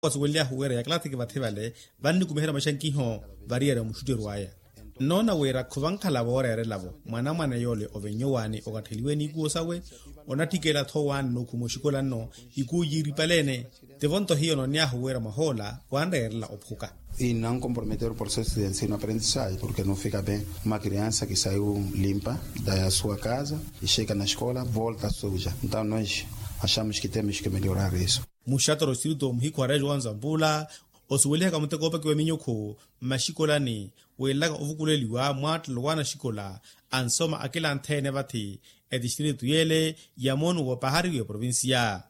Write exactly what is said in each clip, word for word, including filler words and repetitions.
Wasuwelyahu wira yakilathiki vathi vale vannikumiherya maxankiho variyari omuxutteryo aya. Nnoona wira khuvankhala vooreerelavo mwanamwane yoole ovennyowani okatteliwe eniikuwo sawe. Onatthikela-tho waani nookhuma oxikola nno ikuwu yiiripale-ene. Tivo nto hiyo noonyahu wira mwahoola wanreerela ophuka. Inankomprometer o processo de ensino aprendissaje porke no fika ben uma kriansa ki saiu limpa da sua kaza ixeka na xikola volta suja. Entaw nois axamus ki temos ki meliorar isu. Muxatoro sirito muhikhu arejo wa nzampula osuwelihaka muteko oopakiwa minyukhu mmaxikolani, weelaka ovukuleliwa mwaattelo waana axikola ansoma akilanthe-ene vathi etistrito yeele ya moonu woopaharyiwa eprovincia.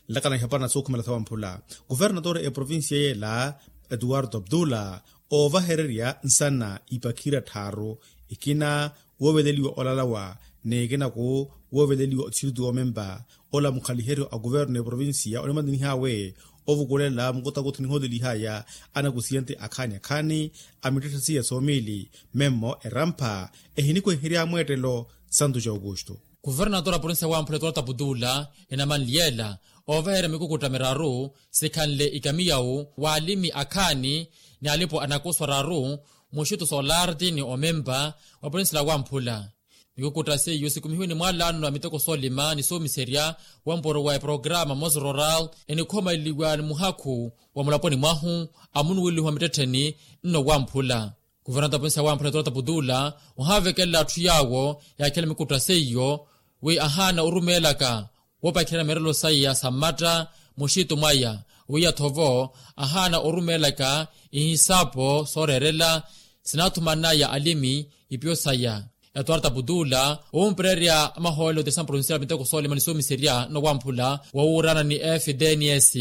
Nlakana ihapwana sookhumela thawa mphula, kuvernatore eprovincia yeela etuwarto abdula oovahererya nsana ipakhira tthaaru, ikina wooveleliwa olalawa n'ekinaku wooveleliwa otistrito woomempa. Ola mukhaliheryo a kuverno eprovincia onimaninihawe ovukulela mukutakuthu nihoolelihaya anakusiyente akhaani akhaani a mittetthe siya soomili memmo erampha ehinikweherya mweettelo santu ja aukusto. Kuvernatora provincia wamphula etuwarto abdula enamanliyela oovahererya mikukutta miraru sikhanle ikamiyawu waalimi akhaani ni alipo anakoso araru muxittu soolarti ni omempa wa purinsila wamphula. Mikukutta seiyo sikumihiwe ni mwaalano a miteko soolima ni soomiserya wa mpuro wa eprograma mos rural enikhomaleliwa ni muhakhu wa mulaponi mwahu a munuweliho wa mittettheni nno wamphula. Kuvernata purinsila wamphula etuwarto abdula ohavekelela atthu yaawo yaakhela mikukutta seiyo wi ahaana orumeelaka woopakhirana mirelo saya sa mmatta muxitu mwaya. Wiya-tho vo ahaana orumeelaka ihisapo sooreerela sinaathumanaya alimi ipiyo saya. Etuwarta putula owumpererya amahoolelo ti samprovincial miteko soolima ni soomiserya nowamphula wowuurana ni fdns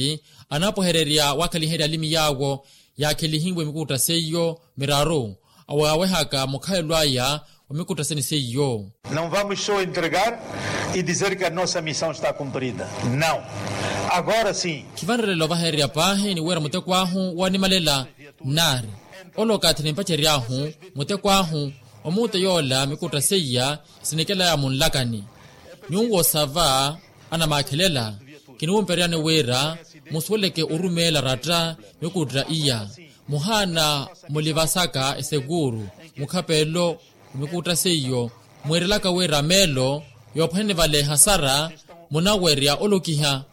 anaapohererya waakhaliherya alimi yaawo yaakhelihiwe mikukutta seiyo miraru awaawehaka mukhalelo aya wa mikuttaseni seiyo. Não vamos só entregar e dizer que a nossa missão está cumprida. Não. Agora sim. Khivanrerela ovahererya paahi ni wira muteko ahu woonimalela nnaari ole okathi nimpacery'ahu muteko ahu omuute yoola mikutta seiya sinikelaya munlakani. Nyuwo sava anamaakhelela kiniwumpereryani wira musuweleke orumeela ratta mikutta iya muhaana mulivasaka esekuuru mukhapelo mikutta seiyo mwiirelaka wira meelo yoophwanene vale ehasara munawerya olokiha.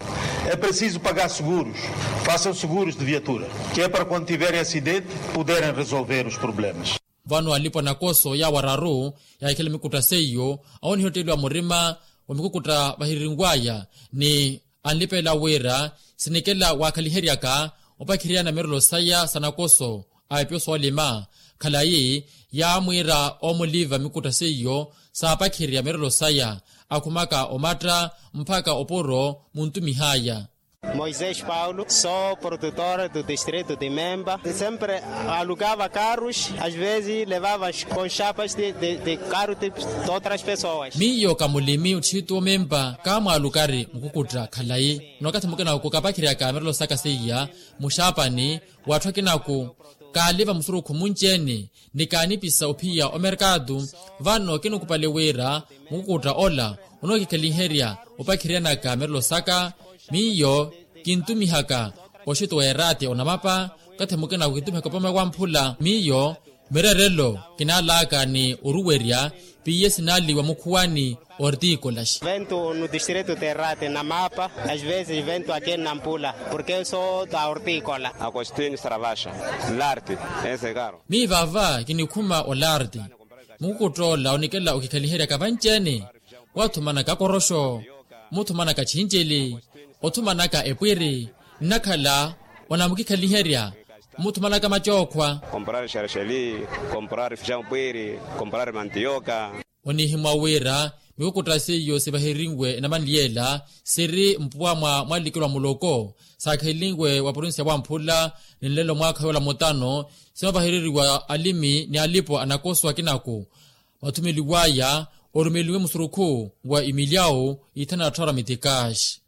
É preciso pagar seguros. Façam seguros de viatura que é para quando tiverem acidente poderem resolver os problemas. Vano alipo anakoso yaawo araru yaahikhela mikutta seiyo awo nihitteliwa murima wa mikukutta vahirinwaya ni anlipelela wira sinikela waakhaliheryaka opakhiriyana mirelo saya sa nakoso a epyo soolima khalayi yaamwiira omuliva mikutta seiyo saapakhirya mirelo saya akhumaka omatta mpakha opuro muntumihaya. Moisés Paulo, sou produtor do distrito de Memba. Sempre alugava carros, às vezes levava com chapas de, de, de carro de outras pessoas. Miyo ka mulimi otthitu omempa kaamwaalukari mukukutta khalayi. Nno okathi mukina kukapakhirya ka mirelo saka seiya muxaapani w'atthu akinaku kaaliva musurukhu munci-ene ni kaanipisa ophiya omerkatu. Vano kinikupale wira mukukutta ola onookikheliherya opakhiryanaka mirelo saka. Miyo kintumihaka oxito w'eraati onamapa okathi mukina kukintumihaka opome wamphula miyo mirerelo kinaalaka ni oruwerya piye sinaaliwa mukhuwani ortikolas. Vento no distrito de rate na mapa às vezes vento aqui na mpula porque eu sou da hortícola. Agostinho saravaxa larte ese caro. Miyo vava kinikhuma olarte mukukutta ola onikela okikhaliheryaka vanci-ene wathumanaka akoroxo muthumanaka chincili othumanaka epwiri nnakhala onamukikhaliherya muthumanaka macookhwa. Comprar xerexeli, comprar fijão pwiri, comprar mantioka. Onihimwa wira mikukutta seiyo sivaherinwe enamanliyela siri mpuwa mwa mwalikelwa muloko saakhelinwe wa provincia wamphula ni nlelo mwaakha yoola mutano sinovahereriwa alimi ni alipo anakoso akinaku mathumeliwaya orumelinwe musurukhu wa imilyawu ithanu na tthara mitikaxi.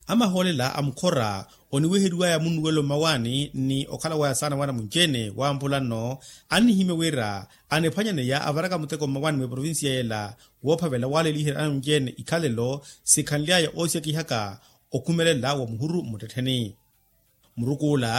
Amahoolela a mukhora oniweheriwaya munnuwelo mmawaani ni okhala waya saana waana munci-ene wamphula nno annihimya wira aniphwanyaneya avaraka muteko mmawaani mweprovincia yela woophavela waaleliherya ana munci-ene ikhalelo sikhanlyaya oosiyakihaka okhumelela wa muhuru mmuttettheni. Muruku ula